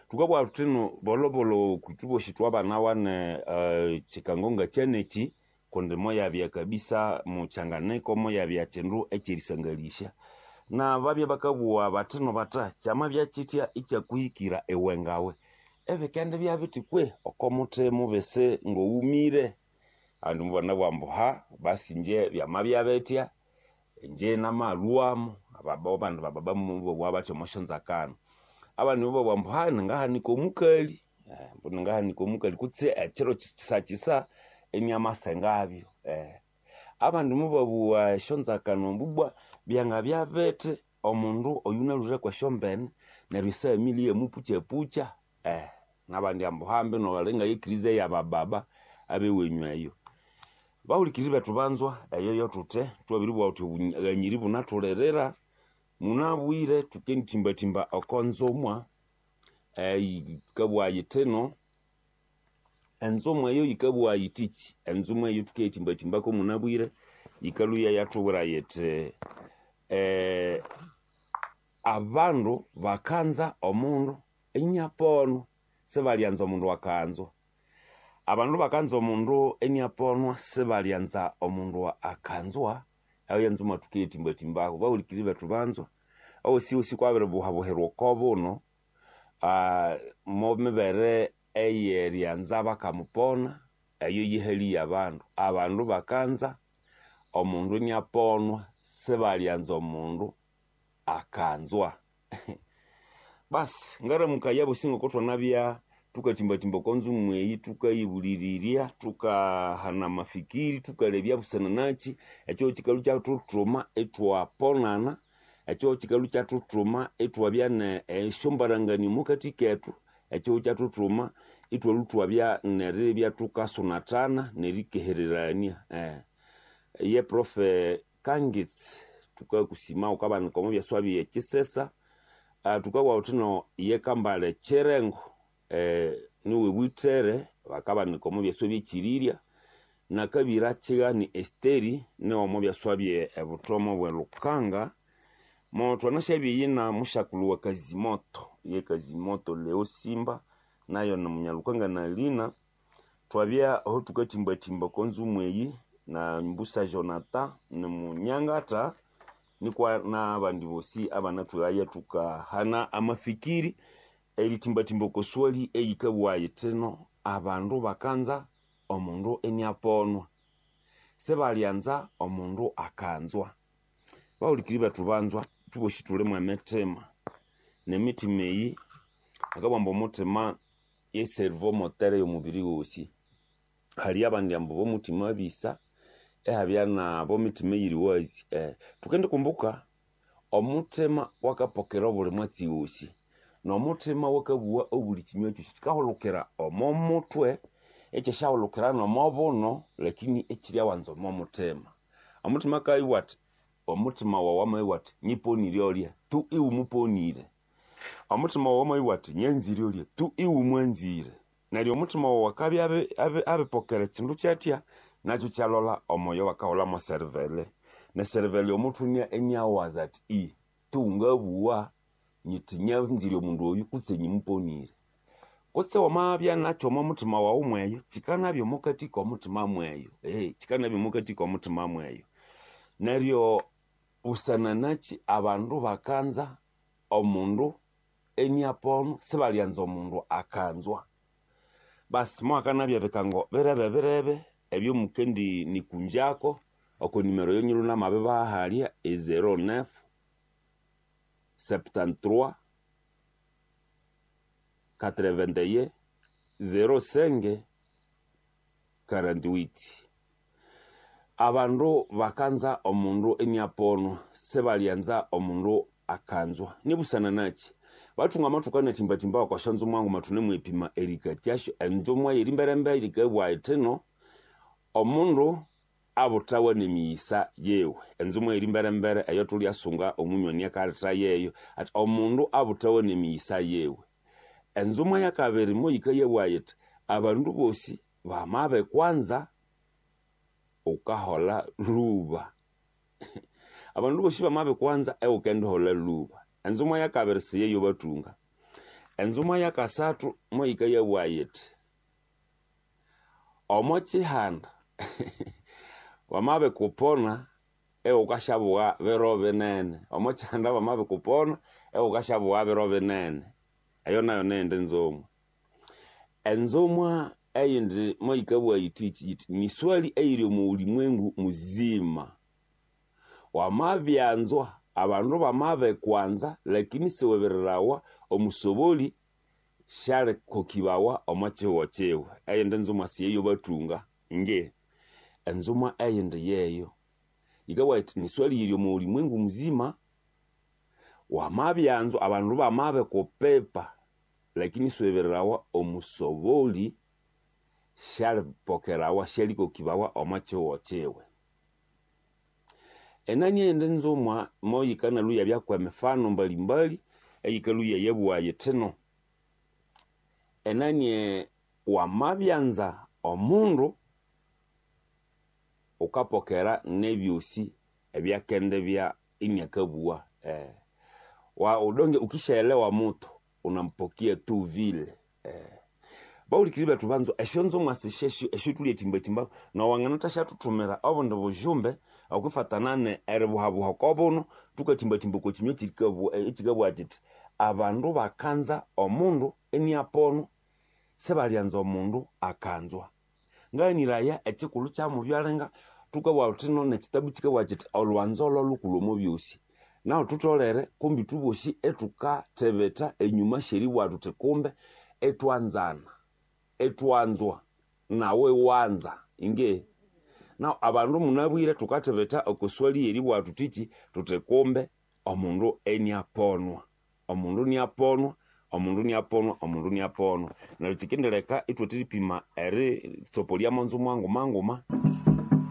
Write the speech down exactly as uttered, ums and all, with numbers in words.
Thukabugha thuthino bolhobolho kwithu bosi thwabanawane uh, kyikango ngakyanekyi kundi moyabya kabisa mukyanganiko moyabya kyindu ekyerisangalhisya nababya bakabugha bathino batha kyamabya kyithya ikyakuhikira iwe ngawe ebikendibya bithi kwe oko muthima ubise ngoghumire abandu mubanabugha ambu ha basi ingye byamabya bithya ingye namalhwamo abandi bababa mubabugha bathi omo syonzakano abandi mubabugha ambu ha ningahanika omukali ambu ningahanika omukali kutse ekiro kyisakisa iniamasengabyo eh. Abandi mubabugha esyonzakano ambu ibwa byangabya bithi omundu oyunalhwire kwesyombene neryo efamily iyamupukyapukya eh. Nabandi ambu hambi nobalinga yekiriza eyabababa abewenyu eyo. Bahulikiriri bethu banzwa eyo yothuthi thwabiribugha thuthi obughanyiri bunathulirira munabwire thukenditimbatimba oko nzumwa yikabugha yithino enzumwa eyo yikabugha yithiki enzumwa eyo thukeyitimba-timbako munabwire yikalhuya yathubwira yithi eh, abandu bakanza omundu iniaponwa sibalyanza omundu akanzwa abandu bakanza omundu iniaponwa sibalyanza omundu akanzwa eyo yenzumwa thukeyitimba-timbako bahulikiriri bethu banzwa owosi kwabiribuhabuhirwa oko buno uh, momibere eyeryanza bakamupona eyo yihali yabandu abandu bakanza omundu iniaponwa sibalyanza omundu akanzwa basi ngaramukaya bosi ngoko thwanabya thukatimbatimba oko nzumu eyi thukayibulirirya thukahana amafikiri thukalebya busana nakyi ekyo kyikalhu kyathuthuma ithwaponana ekyo kyikalhu kyathuthuma ithwabya ne esyombaranganio omwakathi kethu ekyo kyathuthuma ithwalhu thwabya neribya thukasunathana nerikehererania eh. Ye profe Kangitsi thukakusima wukabanika omo byaswa bye Kisesa uh, thukabugha thuthino ye Kambale Kyirengo eh, niwe Bwithere bakabanika omo byaswa byekyirirya nakabira Kyighani Esteri niwe omo byaswa bye ebuthomo bwe Lukanga mo thwanasyabyeyina mushakulhu wa Kazimoto ye Kazimoto Leo Simba nayo ni Munyalukanga na Lina twabya aho thukatimbatimba oko nzumu eyi na Mbusa Jonathan ni Munyangata nikwa nabandi bosi abanathwighaya thukahana amafikiri eritimbatimba oko swali eyikabugha yithino abandu bakanza omundu iniaponwa sibalyanza omundu akanzwa bahulikiri bethu banzwa thubosi thulimu emitima nemitima eyi bakabugha ambu omuthima ye cerveau moteur eyomubiri ghosi hali abandi ambu bomuthima bisa ehabya nabo mitima eyiri wazi eh, thukendikumbuka omuthima wakapokera obuli mwatsi ghosi nomuthima wakabugha obuli kinywa kyosi kikahulukira omo muthwe ekyasyahulukira nomo buno lakini ekyiryawanza omo muthima omuthima akayibugha athi omuthima wawu wamabugha athi nyiponire olya tu iwe muponire omuthima wawu wamabugha athi nyanzire olya tu iwe mwanzire neryo omuthima wawu akabya abipokera ekyindu kyathya nakyo kyalola omoyo bakahulamo cervelle ne cervelle omuthwe iniawaza athi i tu ngabugha nyithi nyanzire omundu oyu kutse nyimuponire kutse wamabya nakyo omo muthima wawu mweyo kyikanabya omukathi komuthima mweyo eh, kyikanabya omukathi komuthima mweyo neryo busana nakyi abandu bakanza omundu iniaponwa sibalyanza omundu akanzwa basi mwakanabya bikango birebe birebe ebyo mukendi nikunjako oko nimero yonyiru namabibaha e zero neuf septante-trois quatre-vingt-un zero cinq quarante-huit abandu bakanza omundu iniaponwa sibalyanza omundu akanzwa nibusana nakyi bathunga amathuka anathimbathimba okwasyanzumwa nguma thunemwipima erikakyasyo enzumwa yerimberembe yikabugha yithino omundu abuthawa nemiyisa yewe enzumwa yerimberembere eyo thulyasunga omunywani akaletha yeyo ati omundu abuthawa nemiyisa yewe enzumwa yakabiri moyikayabugha yithi abandu bosi bamabikwanza wukahola lhuba abandu bosi bamabikwanza ewukendihola lhuba Enzumwa yakabiri siyeyo bathunga. Enzumwa yakasathu moyikayabugha yithi omo kihanda wamabikupona ighukashabugha biro binene. Omo kihanda bamabikupona ighukashabugha biro binene. Eyo nayo neyindi nzumwa. Enzumwa eyindi moyikabugha yithi yithi ni swali eyiri omo ulimwengu muzima. Wamabyanzwa abandu bamabikwanza lakini siwibirirawa omusoboli syalikokibawa omo kihugho kiwe. Eyindi nzumwa siyeyo bathunga inge. Enzumwa eyindi yeyo yikabugha yithi ni swali yiri omo ulimwengu muzima. Wamabyanzwa abandu bamabikupipa lakini siwibirirawa omusoboli syalipokerawa syalikokibawa omo kihugho kiwe. Enani eyindi nzumwa moyikanalwa iyabya kwemifano mbalimbali eyikalwa iyabugha yithino enani wamabyanza omundu wukapokera nebyosi ebyakendibya iniakabugha eh. Wa udonge ukishaelewa mutu unampokia tu vile eh. Bawulikiri bethu banzwa esyonzumwa sisyesyo esyothulyathimbathimba nowanganathasyathuthumira obundi bujumbe okwifatana eribuhabuha okobuno thukathimbathimba oko kinywa ekikabugha kithi abandu bakanza omundu iniaponwa sibalyanza omundu akanzwa. Ngaghaniraya ekikulhu kyamubyalenga thukabugha thuthino nekitabu kikabugha kithi olhwanzo lholhukulhu omo byosi. Nahu thutholere kumbi ithwebosi ithukathibitha enyuma syeribugha thuthi kumbe ithwanzana, ithwanzwa nawe iwanza inge. Nahu abandu munabwire thukathibitha oko swali yeribugha thuthiki thuthi kumbe omundu iniaponwa. Omundu iniaponwa, omundu iniaponwa, omundu iniaponwa. Neryo kyikindileka ithwatheripima eritsopoliamo nzumwa nguma nguma.